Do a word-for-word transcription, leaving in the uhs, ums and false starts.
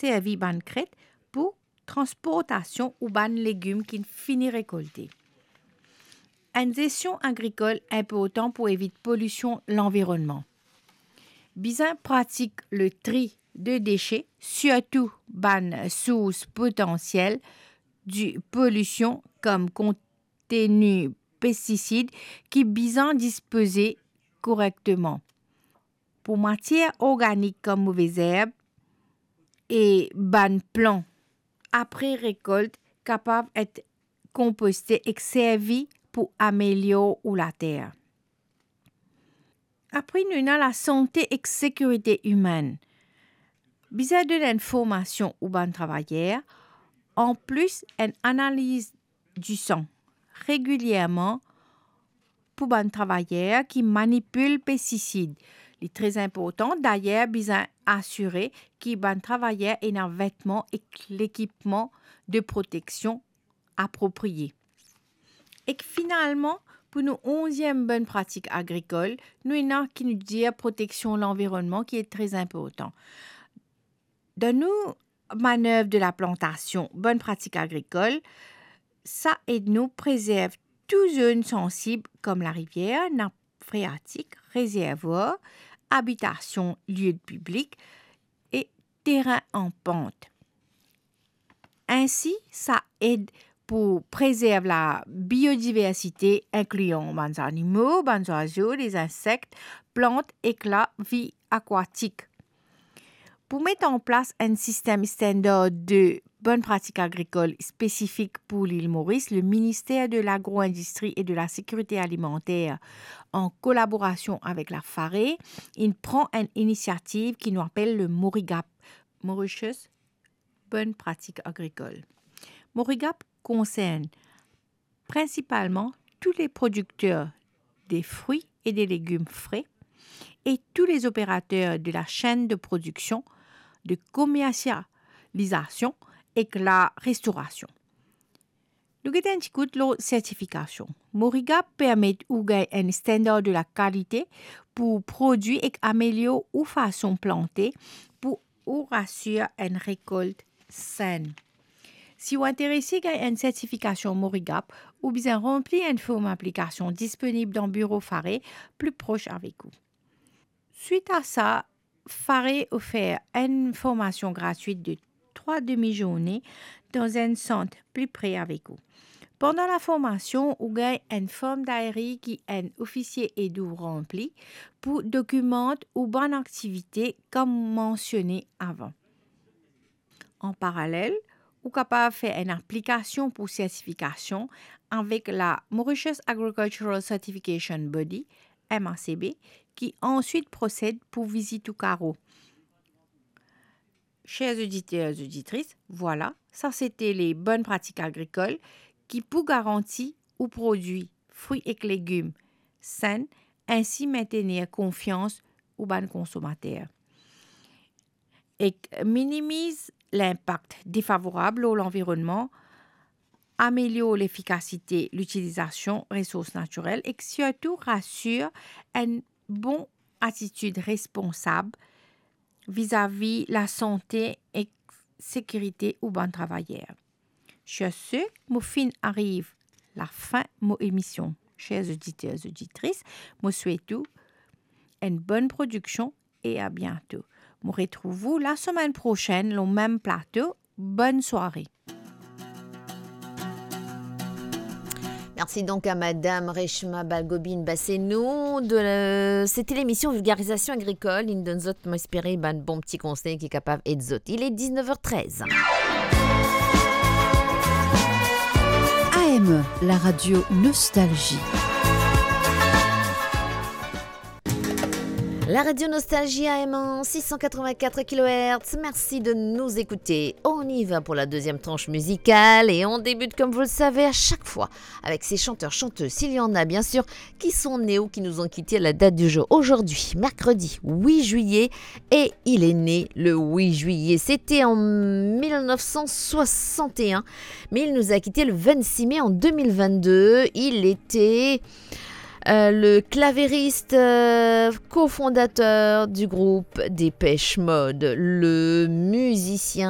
servi bann kret pou transportasion ou bann legim ki'nn fini rekolte. Enn zestion agrikol inportan pou evit polision lanvironnman. Bizin pratik le tri de dese, sirtou bann sours potansiel de polision kom konteni pestisid ki bizin dispoze korekteman. Pou matier organik kom move zerb e bann plan apre rekolt kapav et konposte ek servi pou amelior ou later. Apre, nou ena lasante ek sekirite imenn. Bizin donn enn formasion ou bann travayer, anplis enn analiz disan regilierman pou bann travayer ki manipil pestisid. Li tre inportan, dayer, bizin asire ki bann travayer ena vetman ek lekipman de proteksion apropriye. Ek finalman, pou nou onziem bonn pratik agrikol, nou ena ki nou dir proteksion lanvironnman ki e tre inportan. Dan nou manev de laplantasion, bonn pratik agrikol, sa ed nou prezerv tou zone sansib kom larivier, nap freatik, rezervwar, abitasion, lie piblik e terin an pant. Insi, sa ed pou prezerv labiodiversite, inklian bann zanimo, bann zwazo, lezinsek, plant ek lavi akwatik. Pou met an plas enn sistem standar de bonn pratik agrikol spesifik pou Lil Moris, le Minister de Lagro-Indistri e de la Sekirite Alimanter, an kolaborasion avek la FARE, inn pran enn inisiativ ki nou apel le Morigap, Mauritius Bonne Pratique Agricole. Morigap konsern prinsipalman tou le prodikter de fri e de legim fre e tou le operater de la senn de prodiksion, de komersializasion ek la restorasion. Nou get enn ti kout lor sertifikasion. Morigap permet ou gagn enn standar de la kalite pou prodwi ek amelior ou fason plante pou ou asir enn rekolt senn. Si ou interese gagn enn sertifikasion Morigap, ou bizin ranpli enn form aplikasion disponib dan biro FARE pli pros avek ou. Swit a sa, FARE ofer enn formasion gratwit de trwa demi-zourne dan enn sant pli pre avek ou. Pandan laformasion, ou gagn enn form dayri ki enn ofisie ed ou ranpli pou dokimant ou bann aktivite kom mansione avan. An paralel, ou kapav fer enn aplikasion pou sertifikasion avek la Mauritius Agricultural Certification Body, M A C B, ki answit prosed pou vizit ou karo. Cher oditer, oditris, vwala, sa sete le bonn pratik agrikol ki pou garanti ou prodwi fri ek legim senn, insi mentenir konfians ou bann konsomater. Ek minimiz linpak defavorab lor lanvironnman, amelior lefikasite litilizasion resours natirel ek sirtou rasir enn bon atitid responsab vizavi lasante ek sekirite ou bann travayer. Sur ce, mo finn ariv lafin mo emision. Cher oditer, oditris, mo swet ou enn bonn prodiksion e a biento. Mo retrouv ou lasemenn prosenn lor mem plato. Bonn sware. Merci donc à Madame Reshma Balgobin Bassenou. De, c'était l'émission Vulgarisation agricole. Inn donn zot, mo espere, bann bon ti konsey ki kapav ed zot. Il est dix-neuf heures treize. A M E, la radio Nostalgie. La radio Nostalgie A M en six cent quatre-vingt-quatre kilohertz. Merci de nous écouter. On y va pour la deuxième tranche musicale et on débute, comme vous le savez, à chaque fois avec ces chanteurs, chanteuses, s'il y en a bien sûr, qui sont nés ou qui nous ont quittés à la date du jour. Aujourd'hui, mercredi huit juillet, et il est né le huit juillet. C'était en mille neuf cent soixante et un, mais il nous a quittés le vingt-six mai en deux mille vingt-deux. Il était euh, le clavieriste, euh, cofondateur du groupe Dépêche Mode, le musicien